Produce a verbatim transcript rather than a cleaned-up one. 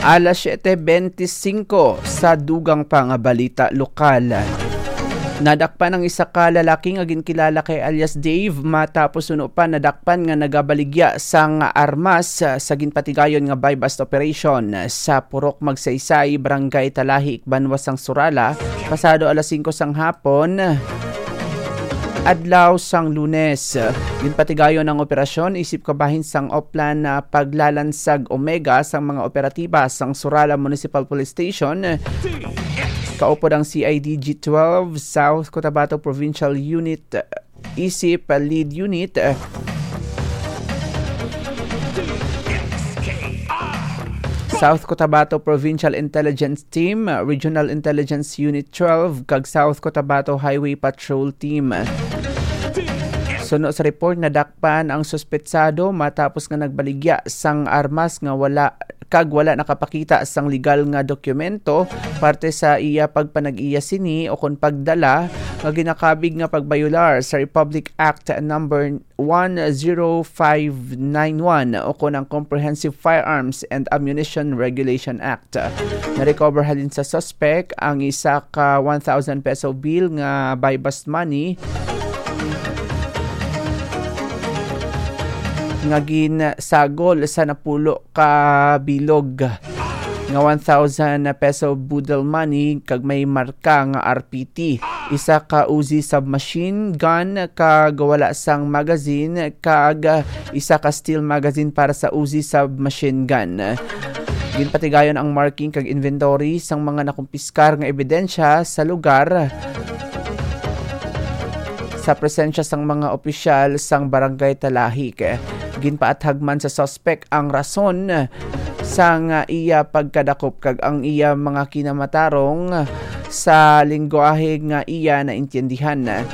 Alas siete bente singko sa dugang pa nga balita lokal. Nadakpan ang isa ka lalaki nga ginkilala kay alias Dave, matapos suno pa nadakpan nga nagabaligya sang armas sa ginpatigayon nga buy-bust operation sa Purok Magsaysay, Barangay Talahik, Banwa sang Surala, pasado alas singko sang hapon, adlaw sang Lunes. Ginpatigayon ang operasyon isip kabahin sang Oplan na paglalansag Omega sang mga operatiba sang Surala Municipal Police Station. Kaupod ang C I D G twelve South Cotabato Provincial Unit isip Lead Unit, South Cotabato Provincial Intelligence Team, Regional Intelligence Unit twelve, kag South Cotabato Highway Patrol Team. Suno sa report, nadakpan ang suspetsado matapos nga nagbaligya sang armas nga wala kag wala nakapakita sang legal nga dokumento, parte sa iya pagpanag-iya sini o kon pagdala nga ginakabig nga pagbayolar sa Republic Act number one zero five nine one o kon ang Comprehensive Firearms and Ammunition Regulation Act. Na-recover halin sa suspect ang isa ka one thousand peso bill nga buy-bust money nga ginsagol sa napulo ka bilog nga one thousand peso boodle money kag may marka nga R P T, isa ka Uzi submachine gun kag wala sang magazine, kag isa ka steel magazine para sa Uzi submachine gun. Ginpatigayon ang marking kag inventory sang mga nakumpiskar nga ebidensya sa lugar sa presensya sang mga opisyal sang Barangay Talahik. Ginpaathag man sa suspek ang rason sang iya pagkadakop kag ang iya mga kinamatarong sa lingwahe nga iya naintindihan.